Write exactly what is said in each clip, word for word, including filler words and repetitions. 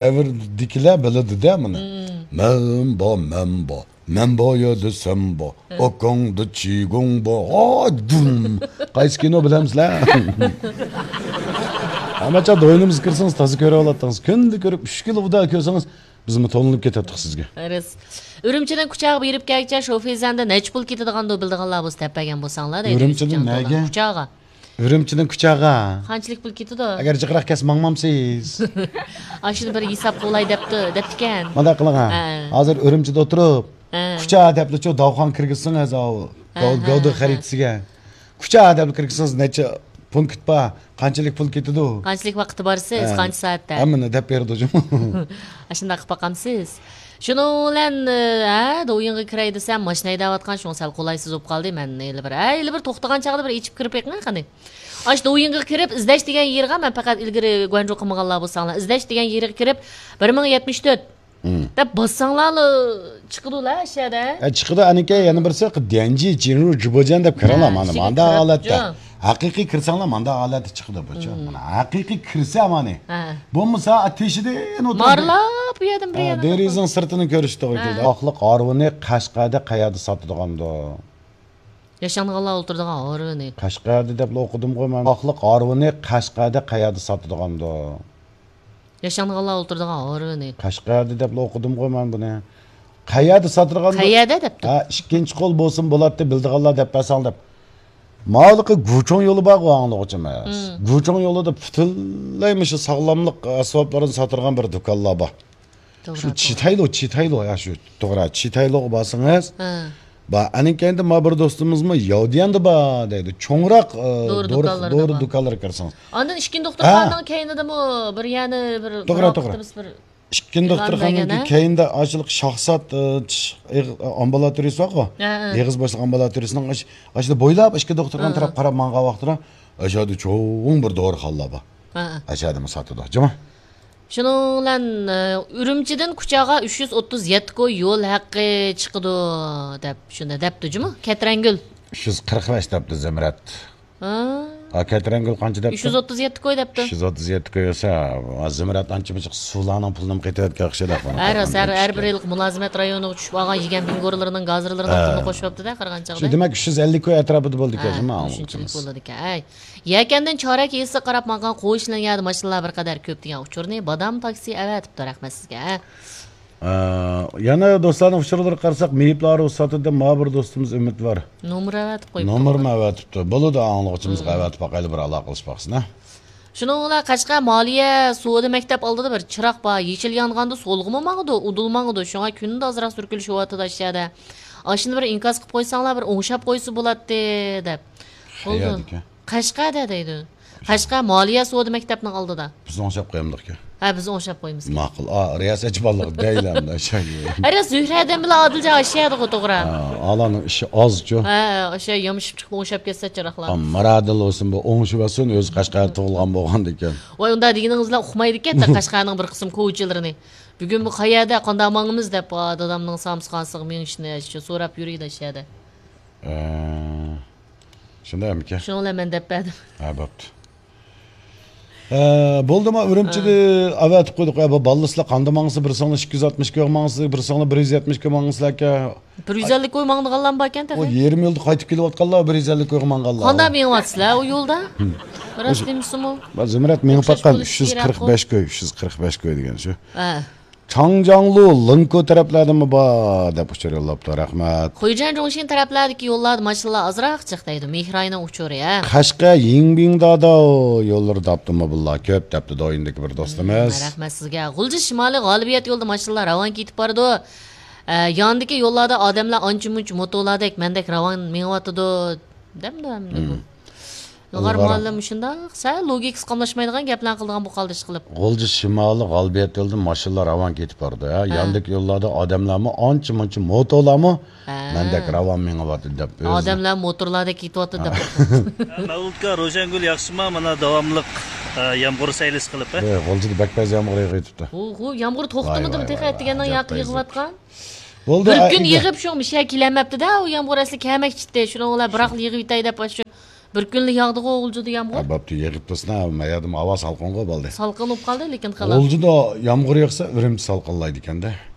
دەۋردىكىلەر بىلىدۇ-دە مانا. مەن بار، مەن بار، مەن بار يەردە سەن بار، ئاكاڭدا چىگۇڭ بار، ھا، دۇم. قايسى كىنو بىلەمسىلەر؟ ھەممە چاغ دوينىمىزغا كىرسىڭىز تازا كۆرۈۋالاتتىڭىز. كۈندە كۆرۈپ، ئۈچ كىلو ئۇدا كۆرسىڭىز، بىزمۇ تولۇنۇپ كېتەتتۇق سىزگە. رەس. ئۈرۈمچىدىن كۇچاغا بېرىپ كەلگۈچە شوفېرزەندە نەچچە پۇل كېتىدىغاندۇ بىلىدىغانلار بولسا دەپ بەرگەن بولساڭلار دەيدۇ. ئۈرۈمچىدىن نەگە؟ كۇچاغا. ئۈرۈمچىدىن كۇچاغا. قانچىلىك پۇل كېتىدۇ؟ ئەگەر جىقراق كەتسە ماڭمامسىز؟ ئاشۇنى بىر ھېساب قىلاي دەپتۇ، دەپتىكەن. مانداق قىلىڭ ھە. ھە. ھازىر ئۈرۈمچىدە ئولتۇرۇپ، ھە. كۇچا دەپلىچۇ داۋخان كىرگۈزسىڭىز ئاۋۇ. ھە، گەۋ-، ھە، گەۋدە ھە. خەرىتىسىگە. كۇچا دەپلا كىرگۈزسىڭىز نەچچە پونكىت بار؟ قانچىلىك پۇل كېتىدۇ؟ قانچىلىك ۋاقىتتا بارسىز؟ ھە. قانچە سائەتتە؟ ھەممىنى دەپ بېرىدۇ جۇمۇ. ئاشۇنداق قىلىپ باقامسىز؟ شۇنىڭ بىلەن، ئە، دويىنغا كىرەي دېسەم، ماشىنا ھەيدەۋاتقان، شۇڭا سەل قولايسىز بولۇپ قالدى. مەن ھېلى بىر، ھە، ھېلى بىر توختىغان چاغدا بىر ئېچىپ كىرىپ بېقىڭە قېنى. ئاشۇ دويىنغا كىرىپ، ئىزدەش دېگەن يېرىغا، مەن پەقەت ئىلگىرى گۇەنجۇ قىلمىغانلار بولساڭلار، ئىزدەش دېگەن يېرىغا كىرىپ، بىر مىڭ يەتمىش تۆت دەپ باسساڭلارلا چىقىدۇلا ئەشەدە. ئە، چىقىدۇ، ئەنىكەي، يەنە بىرسى، ديەنجى، جىنرۇ، جۇبوجيەن دەپ كىرىڭلار، ھە، مانا، ئىچىگە ماندا كىرىپ، ھالەتتە. جۇ. ھەقىقىي كىرسەڭلار، ماندا ھالەتتە چىقىدۇ بۇ، چۇ. مم. مانا، ھەقىقىي كىرسە، مانا. ھە. بولمىسا، ئا، تېشىدىن ئولتۇرۇپ مارلاپ بۇ يەردىن بىر ھە، يەردىن دېرىزىنىڭ سىرتىنى كۆرۈش توغرا ھە. كېلىدۇ. ئاقلىق ئارىۋىنى قەشقەردە قەيەردە ساتىدىغاندۇ؟ ياشانغانلار ئولتۇرىدىغان ئارىۋىنى. قەشقەردە دەپلا ئوقۇدۇمغۇ مەن. ئاقلىق ئارىۋىنى قەشقەردە قەيەردە ساتىدىغاندۇ؟ ياشانغانلار ئولتۇرىدىغان ئارىۋىنى. قەشقەردە دەپلا ئوقۇدۇمغۇ مەن بۇنى. قەيەردە ساتىدىغاندۇ؟ قەيەردە دەپتۇ. ھە، ئىككىنچى قول بولسىمۇ بولاتتى، بىلىدىغانلار دەپ بەرسەڭ دەپ. ماۋۇلۇقى گۇچۇڭ يولى بارغۇ ئاڭلىغۇچىمىز. مم. گۇچۇڭ يولىدا پۈتۈنلەي مۇشۇ ساغلاملىق ئەسۋابلىرىنى ساتىدىغان بىر دۇكانلار بار. توغرا، شۇ توغرا. چىتايلو، چىتايلو، يا شۇ توغرا، چىتايلوغا بارسىڭىز، ھە. با، ئەنىڭ كەينىدە ما بىر دوستىمىزمۇ ياۋدىيەندە بار دەيدۇ. چوڭراق، ئە، دورا دورا، دۇكانلىرىدا دورا بار. دۇكانلىرى كىرسىڭىز. ئاندىن ئىككىنچى ھە. دوختۇرخانىنىڭ كەينىدىمۇ بىر يەنە بىر دورا، دورا توغرا. بىر ئىككىنچى دوختۇرخانىنىڭ كەينىدە ئاشۇلۇق شاھزات، ئە، چىش، ئېغ-، ئامبۇلاتورىيىسى بارغۇ. ھە، ھە. ئېغىز باشلىق ئامبۇلاتورىيىسىنىڭ ئاش-، ئاشۇنى بويلاپ ئىككى دوختۇرخانا ھە، ھە. تەرەپ قاراپ ماڭغان ۋاقتىدا ئاشۇ يەردە چوڭ بىر دورىخانىلار بار. ھە، ھە. ئاشۇ يەردىمۇ ساتىدۇ. جۇمۇ. شۇنىڭ بىلەن، ئە، ئۈرۈمچىدىن كۇچاغا ئۈچ يۈز ئوتتۇز يەتتە كوي يول ھەققى چىقىدۇ، دەپ، شۇنداق دەپتۇ جۇمۇ، كەترەنگۈل. ئۈچ يۈز قىرىق بەش دەپتۇ زىمرەت. ھا؟ ھا، كەترەنگۈل قانچە دەپتۇ؟ ئۈچ يۈز ئوتتۇز يەتتە كوي دەپتۇ. ئۈچ يۈز ئوتتۇز يەتتە كوي بولسا، ھا، زىمرەت ئانچە مۇنچە سۇلارنىڭ پۇلىنىمۇ قېتىۋەتكەن ئوخشايدۇ. ھەر راست، ھەر، ھەر بىر ھېلىقى مۇلازىمەت رايونىغا چۈشۈپ ئالغان يېگەن بىنگورلىرىنىڭ، گازىرلىرىنىڭ ھە. پۇلىنى قوشۇۋاپتۇ-دە، قارىغان شۇ چاغدا. دېمەك، ئۈچ يۈز ئەللىك كوي ئەتراپىدا بولىدىكەن، ھە، شۇنداق ئۈچ يۈز ئەللىك ئاڭلىغۇچىمىز. بولىدىكەن. ھەي. يەكەندىن چارەك يېزىسىغا قاراپ ماڭغان قويچىلىرىڭ يەردە ماشىنىلار بىر قەدەر كۆپ دېگەن ئۇچۇرنى بادام تاكسى ئەۋەتىپتۇ، رەھمەت سىزگە. ئە، يەنە دوستلارنىڭ ئۇچۇرلىرىغا قارىساق، مېيىپلارۇ ساتىدۇ، ما بىر دوستىمىز ئۈمىد بار. نومۇر ئەۋەتىپ قويۇپتۇ. نومۇرمۇ ئەۋەتىپتۇ. بولىدۇ، ئاڭلىغۇچىمىزغا مم. ئەۋەتىپ باقايلى، بىر ئالاقىلىشىپ باقسىنا. شۇنىڭ بىلەن قەشقەر مالىيە سودا مەكتەپ ئالدىدا بىر چىراغ بار، يېشىل يانغاندا سولغىمۇ ماڭىدۇ، ئۇدۇل ماڭىدۇ، شۇڭا كۈندە ئازراق سۈركىلىشىۋاتىدۇ ئاشۇ يەردە. ئاشۇنى بىر ئىنكاس قىلىپ قويساڭلار، بىر ئوڭشاپ قويسا بولاتتى، دەپ. بولدى. قەيەردىكەن؟ قەشقەردە دەيدۇ. قەشقەر مالىيە سودا مەكتەپنىڭ ئالدىدا. بىز ئوڭشاپ قويامدۇقكەن؟ ھە، بىز ئوڭشاپ قويىمىز. ماقۇل. ئا، رىياسەتچى بالىلىق دەيلەمدە شايى. ھە، رىياس زۆھرەدىن بىلەن ئادىلجان ئاشۇ يەردىغۇ، توغرا. ھە، ئالانىڭ ئىشى ئازچۇ. ھە، ئاشۇ يامىشىپ چىقىپ ئوڭشاپ كەتسە چىراغلار. ئا، مىرادىل بولسۇن، بۇ ئوڭشىۋەتسۇن، ئۆزى قەشقەردە تۇغۇلغان بولغاندىكەن. ۋاي، ئۇنداق دېگىنىڭىز بىلەن ئۇقمايدىكەن، قەشقەرنىڭ بىر قىسىم كوچىلىرىنى. بۈگۈن بۇ قەيەردە، قانداق ماڭىمىز دەپ، ئا، دادامنىڭ سامسىخانىسىغا مېڭىشنى شۇ سوراپ يۈرىدۇ ئاشۇ يەردە. ئە، شۇنداقمىكەن؟ شۇنىڭ بىلەن مەن دەپ بەردىم. ھە، بوپتۇ. ئە، بولدىما، ئۈرۈمچىدە ھە. ئەۋەتىپ قويدۇق. ئە، بۇ بالىسىلار قاندا ماڭسا، بىرسىڭلار ئىككى يۈز ئاتمىش كىلو ماڭسا، بىرسىڭلار بىر يۈز يەتمىش كىلو ماڭسىلەركەن. بىر يۈز ئەللىك كوي ماڭىدىغانلارمۇ باركەن تېخى. ئۇ يېرىم يولدا قايتىپ كېلىۋاتقانلار، بىر يۈز ئەللىىك كويغا ماڭغانلار. قانداق مېڭىۋاتىسىلەر ئۇ يولدا؟ راست دېمىسىمۇ. زۇمرەت مېڭىپ باققان، ئۈچ يۈز قىرىق بەش كوي، ئۈچ يۈز قىرىق بەش كوي دېگەن شۇ. ھە. چاڭجياڭلۇ، لىڭكو تەرەپلەردىمۇ بار دەپ ئۇچۇر يوللاپتۇ، رەھمەت. خۇيجەن جۇڭشىن تەرەپلەردىكى يوللاردا ماشىنىلار ئازراق جىق دەيدۇ، مېھراينىڭ ئۇچۇرى، ھە. قەشقەر يىڭبىڭ داداۋ يوللىرىدا ئاپتوموبىللار كۆپ دەپتۇ دويىندىكى بىر دوستىمىز. ھىم، رەھمەت سىزگە. غۇلجا شىمالىي غالىبىيەت يولىدا ماشىنىلار راۋان كېتىپ بارىدۇ. ئە، ياندىكى يوللاردا ئادەملەر ئانچە مۇنچە موتولاردەك مەندەك راۋان مېڭىۋاتىدۇ. دەمدۇ ئەمدى بۇ. ھىم. ئىلغار مۇئەللىم مۇشۇنداق سەل لوگىكىسى قاملاشمايدىغان گەپلەرنى قىلىدىغان بۇ قالدى ئىشقىلىپ. غۇلجا شىمالىي غالىبىيەت يولىدىن ماشىنىلار راۋان كېتىپ بارىدۇ، ھە. ھە. ياندىكى يوللاردا ئادەملەرمۇ ئانچە مۇنچە موتورلارمۇ ھە. مەندەك راۋان مېڭىۋاتىدۇ دەپ ئۆزى. ئادەملەر موتورلاردەك كېتىۋاتىدۇ دەپ. مەۋلۇتكا، روشەنگۈل ياخشىما؟ مانا داۋاملىق، ئە، يامغۇر سەيلىسى قىلىپ، ھە؟ ھە، غۇلجىدا بەك پەس يامغۇر يېغىۋېتىپتۇ. ھۇ، ھۇ، يامغۇر توختىمىدىمۇ تېخى، ئەتىگەندىن ياقى يېغىۋاتقان. بولدى، بىر كۈن يېغىپ شۇ مىشە كېلەلمەپتۇ-دە، ئۇ يامغۇر ئەسلى كەلمەكچىتتى. شۇنىڭ بىلەن بىراقلا يېغىۋېتەي دەپ، شۇ بىر كۈنلا ياغدىغۇ غۇلجىدا يامغۇر؟ ھە، بوپتۇ، يېغىپ تۇرسۇن، ھە، مەيەردىمۇ ھاۋا سالقىنغۇ بولدى. سالقىن بولۇپ قالدى، لېكىن خالاس. غۇلجىدا يامغۇر ياغسا، ئۈرۈمچى سالقىنلايدىكەن-دە.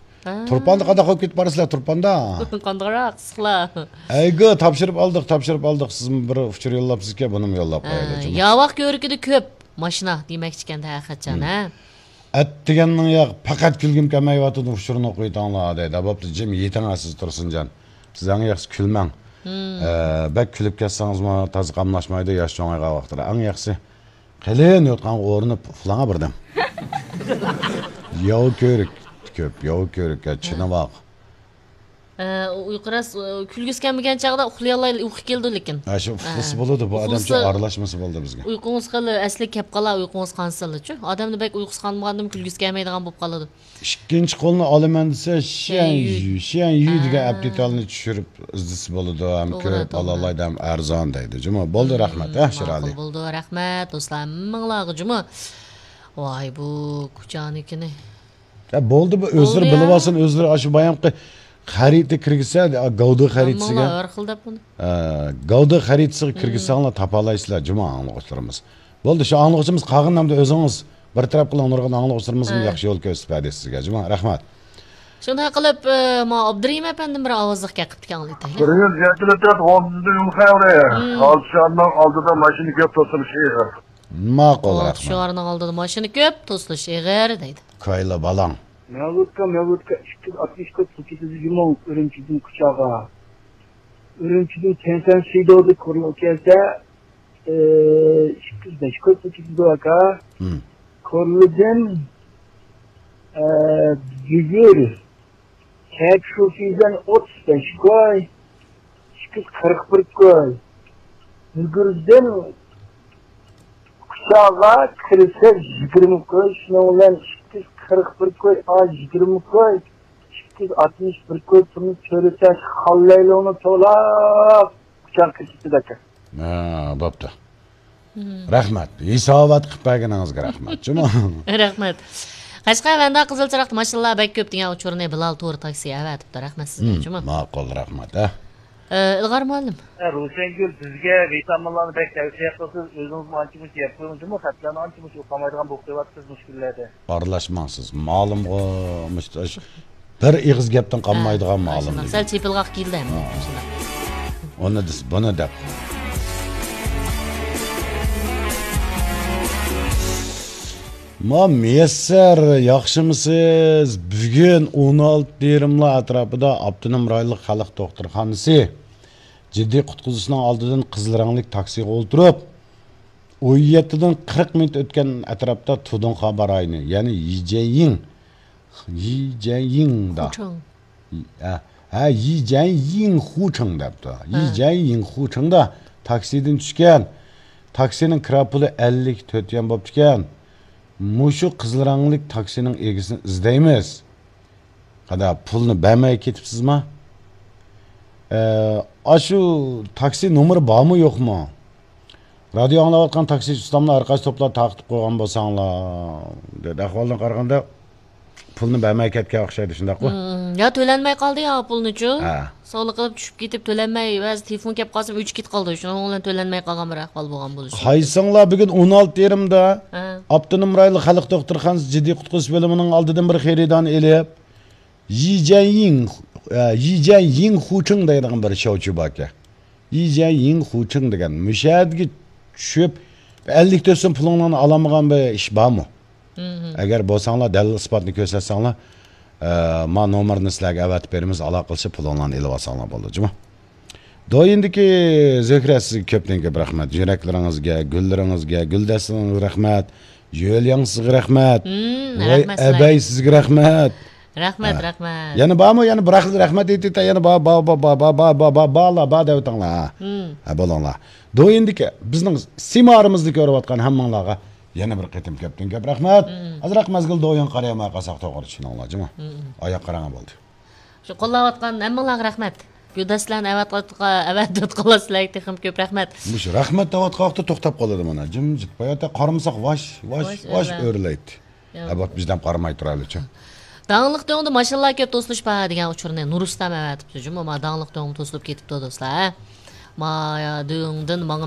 ھە. تۇرپاندا قانداق بولۇپ كېتىپ بارىسىلەر، تۇرپاندا؟ قانداقراق ئىسسىقلا. ئەيگۇ، تاپشۇرۇپ ئالدۇق، تاپشۇرۇپ ئالدۇق. سىزمۇ بىر ئۇچۇر يوللاپسىزكەن، بۇنىمۇ يوللاپ ھە، قويايلى، جۇمۇ. ياۋاق كۆۋرۈكىدە كۆپ ماشىنا دېمەكچىكەن-دە، ھەقىقەتچان، ھە؟ ئەتىگەننىڭ ياق، پەقەت كۈلگۈم كەلمەيۋاتىدۇ، ئۇچۇرنى ئوقۇيتىڭلار، دەيدۇ. بوپتۇ، جىم يېتىڭ سىز، تۇرسۇنجان. سىز ئەڭ ياخشىسى كۈلمەڭ. ئە، بەك كۈلۈپ كەتسىڭىزمۇ تازا قاملاشمايدۇ، ياش چوڭايغان ۋاقتىدا. ئەڭ ياخشىسى قېلىن يوتقانغا ئورىنىپ ئۇخلاڭا بىردەم. ياۋا كۆۋرۈك كۆپ، ياۋا كۆۋرۈك، يا، چىنىۋاق. ئە، ئۇيقۇ راست، ئۇ، كۈلگۈسى كەلمىگەن چاغدا ئۇخلىيالاي، ئۇيقۇ كېلىدۇ لېكىن. ھە، شۇ ئۇخلىسا ھە. بولىدۇ، بۇ ئادەمچۇ ئۇخلىسا ئارىلاشمىسا بولدى بىزگە. ئۇيقۇڭىز خېلى ئەسلىگە كەپ قالا، ئۇيقۇڭىز قانسىلىچۇ. ئادەمنى بەك ئۇيقۇسى قانمىغاندىمۇ كۈلگۈسى كەلمەيدىغان بولۇپ قالىدۇ. ئىككىنچى قولنى ئالىمەن دېسە، شيەن شيەن يۈ، يۈ، شيەن يۈ دېگەن ھە. ئەپتىتالنى چۈشۈرۈپ ئىزدىسە بولىدۇ، ھەم توغرا، كۆرۈپ توغرا. ئالالايدۇ، ھەم ئەرزان دەيدۇ. جۇمۇ، بولدى، رەھمەت، ھە، ماقۇل شىرئەلى. بولدى، رەھمەت، دوستلار، ھەممىڭلارغا جۇمۇ. ۋاي، بۇ كۇچانىكىنى. يا، بولدى، بۇ ئۆزلىرى بولدى يا. بىلىۋالسۇن، ئۆزلىرى ئاشۇ بايامقى خەرىتە كىرگۈزسە، گەۋدە خەرىتىسىگە. ھەممىڭلار ھەر خىل دەپ بۇنى. ئە، گەۋدە خەرىتىسىگە كىرگۈزسەڭلار تاپالايسىلەر، جۇمۇ ئاڭلىغۇچىلىرىمىز. بولدى، شۇ ئاڭلىغۇچىمىز قالغىنىنى ئەمدى ئۆزىڭىز بىر تەرەپ قىلىڭ، نۇرغۇن ئاڭلىغۇچىلىرىمىزمۇ ھە. ياخشى يول كۆرسىتىپ بەردى سىزگە، جۇمۇ. رەھمەت. شۇنداق قىلىپ، ئە، ما ئابدۇرېھىم ئەپەندىم بىر ئاۋازلىق گەپ قىپتىكەن، ئاڭلىتايلى. بىرىنچى جەددىلىتەت غومزىدە يۇلخەيلى. مم. ئالتە شارنىڭ ئالدىدا ماشىنا كۆپ توسۇلۇشى ئېغىر. ماقۇل، ئالتە رەھمەت. شارنىڭ ئالدىدا ماشىنا كۆپ توسۇلۇشى ئېغىر دەيدۇ. كايلا بالاڭ. مەۋلۇتكا، مەۋلۇتكا ئىككى يۈز ئاتمىش تۆت كوچىسى يۇمۇڭ ئۈرۈمچىدىن كۇچاغا. ئۈرۈمچىدىن تيەنشان شىدودا كورلا كەلسە، ئىككى يۈز بەش كوي كوچىسىدۇ ئاكا. مم. كورلىدىن، ئە، بۈگۈر، چەك شۇفىدىن ئوتتۇز بەش كوي، ئىككى يۈز قىرىق بىر كوي. بۈگۈردىن كۇچاغا كىرسە يىگىرمە كوي، شۇنىڭ بىلەن ئىككى يۈز قىرىق بىر كوي، ئا، يىگىرمە كوي، ئىككى يۈز ئاتمىش بىر كوي پۇلنى تۆلىسە، خاللايلوڭنى تولا كۇچاغا كىرسىتىدۇ ئاكا. ھە، بوپتۇ. مم. رەھمەت. ھېسابات قىلىپ بەرگىنىڭىزگە رەھمەت. جۇمۇ. رەھمەت. قەشقەر، ۋەندە، قىزىل چىراغدا ماشىنىلار بەك كۆپ دېگەن ئۇچۇرنى بىلال تور تاكسى ئەۋەتىپتۇ. رەھمەت سىزگە، مم، جۇمۇ. ماقۇل، رەھمەت، ھە. ئە، ئىلغار مۇئەللىم. ھە، روشەنگۈل، بىزگە ۋىتامىنلارنى بەك تەۋسىيە قىلىسىز، ئۆزىڭىزمۇ ئانچە-مۇنچە يەپ قويۇڭ، جۇمۇ. خەتلەرنى ئانچە-مۇنچە ئوقۇمايدىغان بولۇپ قېلىۋاتىسىز مۇشۇ كۈنلەردە. ئارىلاشماڭ سىز. مالىمغۇ، مۇشۇ بىر ئېغىز گەپتىن قالمايدىغان ھە، مالىم شۇنداق. دېگەن. سەل چېپىلغاق كېلدى ھەممە ھە. شۇنداق. ئۇنى دېسە، بۇنى دەپ. ما مىيەسسەر، ياخشىمۇسىز؟ بۈگۈن ئون ئالتە يېرىملار ئەتراپىدا ئاپتونوم رايونلۇق خەلق دوختۇرخانىسى جىددىي قۇتقۇزۇشنىڭ ئالدىدىن قىزىل رەڭلىك تاكسىغا ئولتۇرۇپ، ئون يەتتىدىن قىرىق مىنۇت ئۆتكەن ئەتراپتا تۇدۇڭخابا رايونى، يەنى يىجەنيىڭ، يىجەنيىڭدا. خۇچىڭ. ھە، ھە، يىجەنيىڭ خۇچىڭ دەپتۇ. ھە. يىجەنيىڭ خۇچىڭدا تاكسىدىن چۈشكەن. تاكسىنىڭ كىرا پۇلى ئەللىك تۆت يۈەن بوپتىكەن. مۇشۇ قىزىل رەڭلىك تاكسىنىڭ ئىگىسىنى ئىزدەيمىز. قانداق، پۇلنى بەرمەي كېتىپسىزما؟ ئە، ئاشۇ تاكسى نومۇرى بارمۇ يوقمۇ؟ رادىيو ئاڭلاۋاتقان تاكسىچى ئۇستاملار، ھەر قايسى توپلار تارقىتىپ قويغان بولساڭلار، دەپ ئەھۋالدىن قارىغاندا پۇلنى بەرمەي كەتكەن ئوخشايدۇ، شۇنداققۇ؟ مم، يا تۆلەنمەي قالدى يا پۇلنىچۇ. ھە. سوغلىقىپ چۈشۈپ كېتىپ تۆلەنمەي، بەزى تېلېفون كەپ قالسا ئۆچۈپ كېتىپ قالدى. شۇنىڭ بىلەن تۆلەنمەي قالغان بىر ئەھۋال بولغان بولۇشى مۇمكىن. قايسىڭلار بۈگۈن ئون ئالتە يېرىمدا ھە. ئاپتونوم رايونلۇق خەلق دوختۇرخانىسى جىددىي قۇتقۇزۇش بۆلۈمىنىڭ ئالدىدىن بىر خېرىدارنى ئېلىپ، يىجەنيىڭ، ئە، يىجەنيىڭ خۇچىڭ دەيدىغان بىر شاۋچى باركەن. يىجەنيىڭ خۇچىڭ دېگەن. مۇشۇ يەردىكى چۈشۈپ، ئەللىك تۆت سوم پۇلۇڭلارنى ئالالمىغان بىر ئىش بارمۇ؟ مم. ئەگەر بولساڭلار، دەلىل ئىسپاتنى كۆرسەتسەڭلار، ئە، ما نومۇرنى سىلەرگە ئەۋەتىپ بېرىمىز، ئالاقىلىشىپ پۇلۇڭلارنى ئېلىۋالساڭلار بولىدۇ، جۇمۇ. دويىندىكى زۆھرە، سىزگە كۆپتىن كۆپ رەھمەت. يۈرەكلىرىڭىزگە، گۈللىرىڭىزگە، گۈلدەستىلىرىڭىزگە رەھمەت. جۆلياڭ، سىزگە رەھمەت. مم، ۋاي، رەھمەت سىلەرگە. ئەبەي، سىزگە رەھمەت. رەھمەت، ھە. رەھمەت. يەنە بارمۇ؟ يەنە بىر خىل رەھمەت ئېيتىۋېتە، يەنە بار، بار، بار، بارلار، بار دەۋېتىڭلار، ھە. مم. ھە، بولۇڭلار. دويىندىكى بىزنىڭ سىمارىمىزدا كۆرۈۋاتقان ھەممىڭلارغا يەنە بىر قېتىم كۆپتىن كۆپ رەھمەت. مم. ئازراق مەزگىل دويىنغا قارايماي قالساق توغرا، چۈشىنىڭلار، جۇمۇ. مم. ئاياق قاراڭغۇ بولدى. شۇ قوللاۋاتقان ھەممىڭلارغا رەھمەت. گۈلدەستىلەرنى ئەۋەتىۋاتقا-، ئەۋەتىۋاتقانلار سىلەرگە تېخىمۇ كۆپ رەھمەت. مۇشۇ رەھمەت دەۋاتقان ۋاقىتتا توختاپ قالىدۇ مانا. جىمجىت. باياتە قارىمىساق ۋاش، ۋاش، ۋاش، ۋاش ئۆرلەيدۇ. ياق. ھە، بوپتۇ، بىز دەم قارىماي تۇرايلىچۇ. داڭلىق دۆڭدە ماشىنىلار كۆپ توسۇلۇش بار دېگەن ئۇچۇرنى نۇرۇستام ئەۋەتىپتۇ. جۇمۇ، ما داڭلىق دۆڭمۇ توسۇلۇپ كېتىپتۇ، دوستلار، ھە؟ ما دۆڭدىن ماڭا